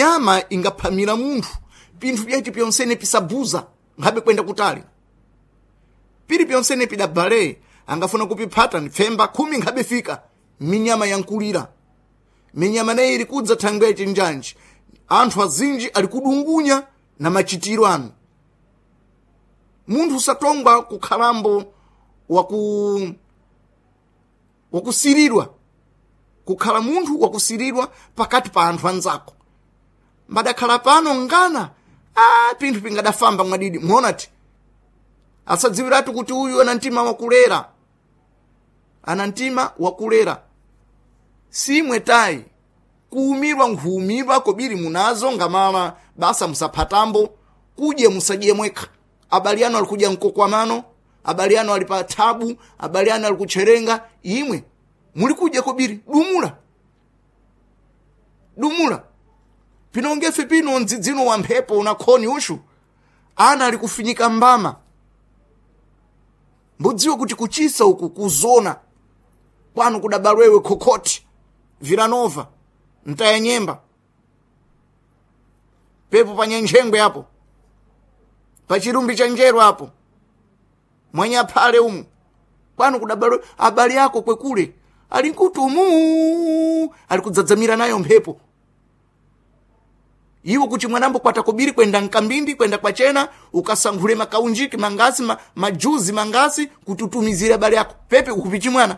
Minyama ingaphamira munthu pinthu pyaci pyonsene pisabuza nkhabe kwenda kutali pili pyonsene pidabale angafuna kupiphata nipfemba 10 nkhabe fika minyama yankulira minyama nayi ili kudza thangwe yachinjanji anthu azinji ali kudungunya na machitiro anu munthu usatongwa kukhalambo wakusiridwa kukhala munthu wakusiridwa pakati pa anthu anzako mbadakhala pano ngana pinthu pingadafamba mwadidi muonati asadziwiratu kuti uyu ana mtima wakulera ana mtima wakulera simwe tayi kuumirwa nkhuumirwa kobiri munazo ngamala basa musaphatambo kudye musadye mwekha abali anu alikudya mkokwamano abali anu ali pa thabu abali anu ali kutcherenga imwe muli kudya kobiri dumula dumula pinongefe pino mdzidzino wa mphepo unakhoni ushu ana ali kufinyika mbama mbudziwe kuti kuchisa uku kuzona kwanu kudabalwewe khokhoti vilanova mtaya nyemba pepo pa nyenjengwe apo pa chirumbi cha njero apo mwanyaphale umu kwanu kudabalwe abali ako kwekule ali nkuti umu ali kudzadzamira nayo mphepo iwo kuti mwanambo kwata kobiri kwenda nkambindi kwenda kwachena ukasankhule makaunjiki mangasi majuzi mangasi kuti utumizire abale ako pepe ukupichi mwana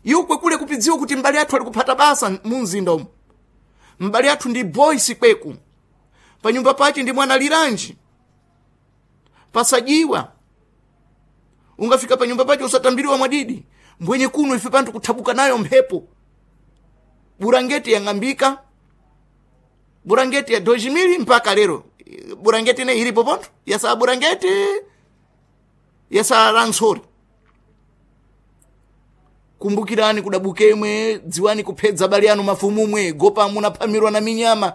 iwo kwekule kupidziwa kuti mbali athu ali kuphata basa mu mzinda umu mbali athu ndi boys kweku panyumba pache ndi mwana liranji pasajiwa ungafika panyumba pache usatambiriwa mwadidi mbwenye kuno ife panthu kuthabuka nayo mphepo burangeti yang'ambika burangeti ya 2000 mpaka lero burangeti ne ilipo pontho yasaa burangeti yasaa lantsori kumbukirani kudabukemwe dziwani kuphedza abale anu mafumumwe gopa munaphamirwa na minyama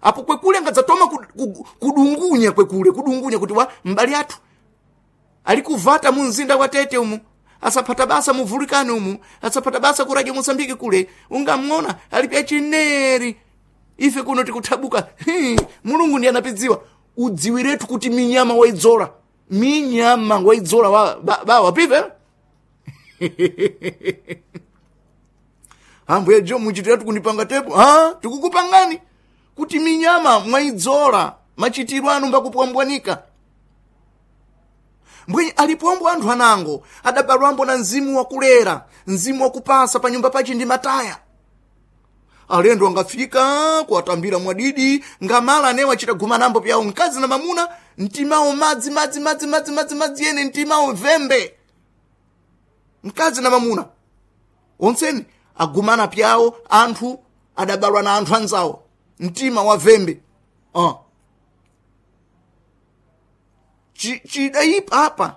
apo kwekule angadzatoma kudungunya kwekule kudungunya kuti wa mbali athu ali kuvata mu mzinda wa Tete umu asaphata basa muvulikani umu asaphata basa ku Radio Mosambiki kule ungamng'ona ali pya chineri ife kuno tikuthabuka mulungu ndiye anapidziwa udziwiretu kuti minyama waidzola minyama waidzola bawa pive ambuye jo muchitiratu kundipanga tepo tikukupangani kuti minyama mwaidzola machitiro anu mbakupwambwanika mbwenye alipombo anthu anango adabalwambo na mzimu wakulera mzimu wakupasa pa nyumba pachi ndi mataya alendo angafika kuwatambira mwadidi ngamala anewo achita gumanambo pyawo mkazi na mamuna mtimawo madzi madzi madzi madzi madzi madzi ene mtimawo vembe mkazi na mamuna onseni agumana pyawo anthu adabalwa na anthu anzawo mtima wa vembe Chidayipa apa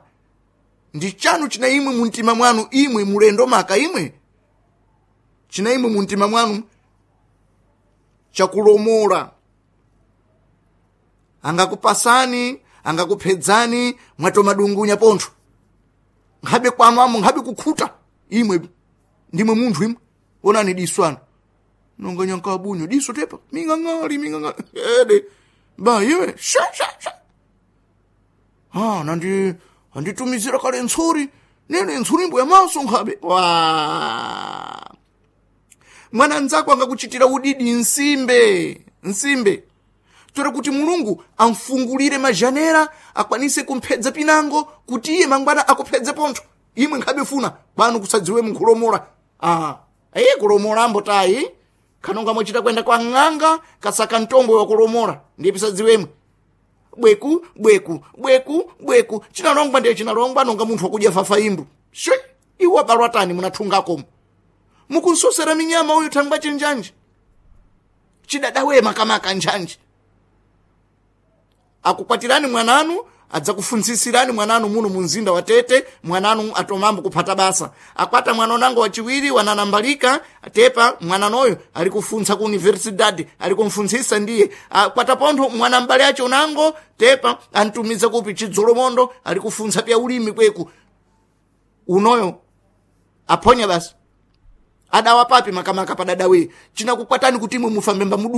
ndi chanu china imwe mu mtima mwanu imwe mulendo maka imwe china imwe mu mtima mwanu chakulomola angakupasani angakuphedzani mwatomadungunya pontho nkhabe kwanu amo nkhabe kukhuta imwe ndimwe munthu imwe onani diso anu nonga nyankabunyo diso tepa ming'ang'ali ming'ang'ali ede ba iwe sha sha sha nandi anditumizira kale ntsuri nene ntsuri mbo yamaso nkhabe wa mwana nzako angakuchitira udidi nsimbe nsimbe tora kuti mulungu amfungulire majanera akwanise kumphedza pinango kuti iye mangwana akuphedze pontho imwe nkhabe funa kwanu kusadziwe munkhulomola aye kulomola ambo tayi khanonga mwachita kwenda kwa ng'anga kasaka mtombo wakulomola ndiye pisadziwemwe bweku bweku bweku bweku chinalongwa ndiye chinalongwa nonga munthu wakudya fafa imbu shwe iwo abalwa tani munathungakomo mukunsosera minyama uyu thangwa chinjanji chidadawe makamaka njanji akukwatirani mwananu adzakufuntsisirani mwananu muno mu mzinda wa Tete mwananu atomambo kuphata basa akwata mwana unango wachiwiri wananambalika tepa mwananoyo ali kufuntsa ku universidade ali kumfuntsisa ndiye akwata pontho mwana mbale acho unango tepa antumiza kupi chidzolomondo ali kufuntsa pya ulimi kweku unoyo aphonya basi adawa papi makamaka padadawe chinakukwatani kuti imwe mufambe mbamudu.